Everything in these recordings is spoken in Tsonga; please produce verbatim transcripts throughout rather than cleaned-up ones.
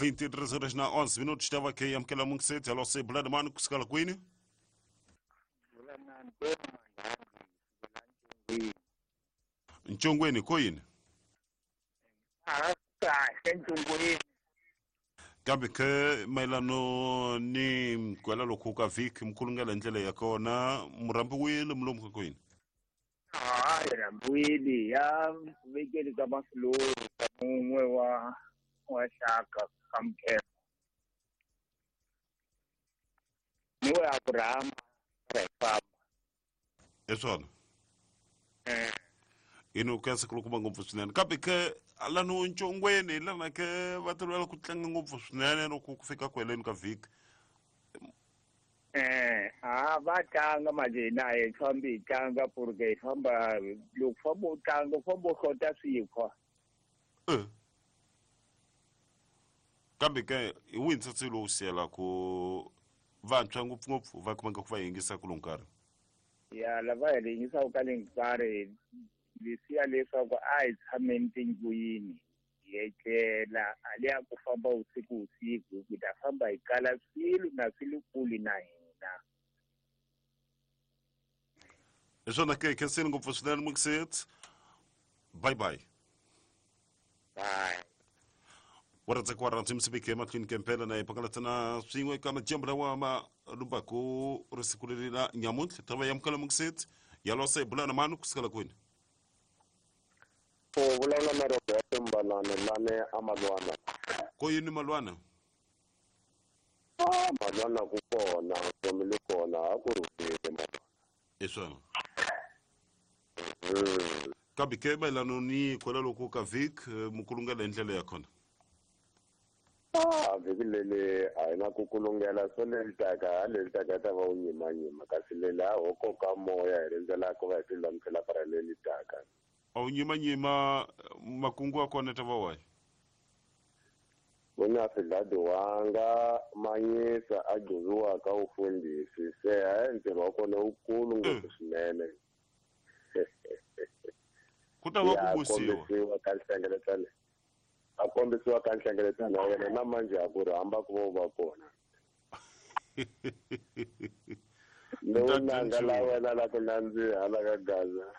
vinte e três horas na onze minutos, estava aqui amukela mungiseti alo se bulani mani kusukela kwini? Ntshongweni ko yini? A kahle ntshongweni. Kambe ke mayelano ni kwela lokhu ka vhiki mkhulungela ndlela ya kona murhambiwile mulomu ka kwini? Hayi rhambiwile ya vekeli ka Masilori ka mun'we wa wa xaka ka Mkhema. Ni we Abraham ra hi famba. Hi swona. Eh. Ino ka siku ngopfu swinene kambe ke lano ntshongweni lana ke va tolovela ku tlanga ngopfu swinene loko ku fika ku heleni ka vhiki. Eh, a va tlanga manje hina a hi fambi hi tlanga porque hi famba loko famba u tlanga u famba u hlota swikhwa. Eh. Kambe ke hi wihi ntsatsi lowu siyelaku vantshwa ngopfungopfu va kumeka ku va yingisa ku lowu nkarhi? Ya lava hi yingisaka ka le nkarhi lesiya leswaku a hi tshameni tindlwini hi etlela a liya ku famba usiku usiku ku ta famba hi kala swilo na swi le kule na hina. Hi swona ke khenseni ngopfu swinene Mukiseti. Bye bye. Bye. Wa rhandza ku wa rhandza emahlweni ke mpela na hi pakalatana swin'we eka madyambu lawa ma lumbaku risiku leri la nyamuntlha ta va yamukela Mukiseti yalosa hi bulana mani kusukela kwini? U vulavula na Roberto Mbalana lane a Malwana. Ko yini Malwana? Ah, Malwana ku kona, vutomi li kona, a ku rhulile Malwana. Hi swona. Kambe ke mayelano ni kwela loko ka vhiki mukulungela hi ndlela ya kona? Ah, vhiki leli a hi na ku kulungela swo leri taka, leri taka ta va wu nyimanyima kasi leli a ho koka moya hi rindzela ku va hi tilulamisela para leri taka. A wu nyimanyima makungu ya kona ta va wahi? Vona swidladiwanga manyisa a gcoviwaka ufundhisi se hayi ntirho wa kona wukulu ngopfu swinene. Ku ta va ku busiwa. Kombisiwa ka nhlengeletano. A kombisiwa ka nhlengeletano ya wena na manje a ku rhamba ku va u va kona. Lowu nanga la wena la ku nandziha la ka Gaza.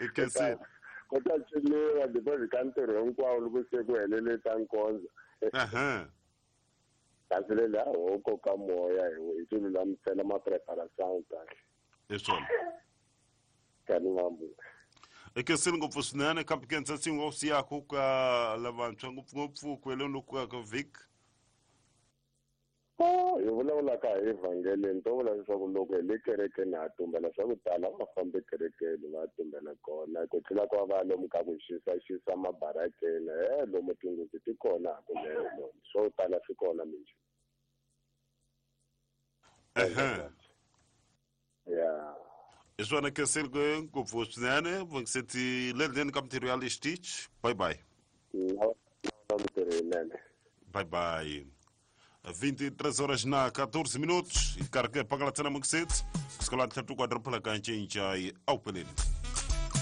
Ekesi. Ku ta ciniwa because ka ntirho hinkwawo loko se ku helele ta nkondzo. Aha. Kasi le laha ho koka moya hi ti lulamisela ma-preparation kahle. Hi swona. Kani mambu. Ekeseni ngopfu swinene kambe ke ntsatsi wa siyaku ka lavantshwa ngopfungopfu ku heleni loku ka vhiki. Oh, hi vulavulaka hi evhangeleni to vula leswaku loko hi le kerekeni ha tumbela swa ku tala va fambe kerekeni va tumbela kona ku tlula ku va va lomu ka ku xisa mabarakeni he lomu tinghozi ti kona hakunene lomu swo tala swi kona minjhe. Ehe. Ya. Hi swona khenseni ngopfu swinene Vungiseti lendleni ka mintirho ya le xitichi. Bye bye. Na mintirho yinene. Bye bye. vinte e três horas na quatorze minutos. E carga para a Mukiseti. Escola de Tatu quadrupla cancha em Jai ao Pelene.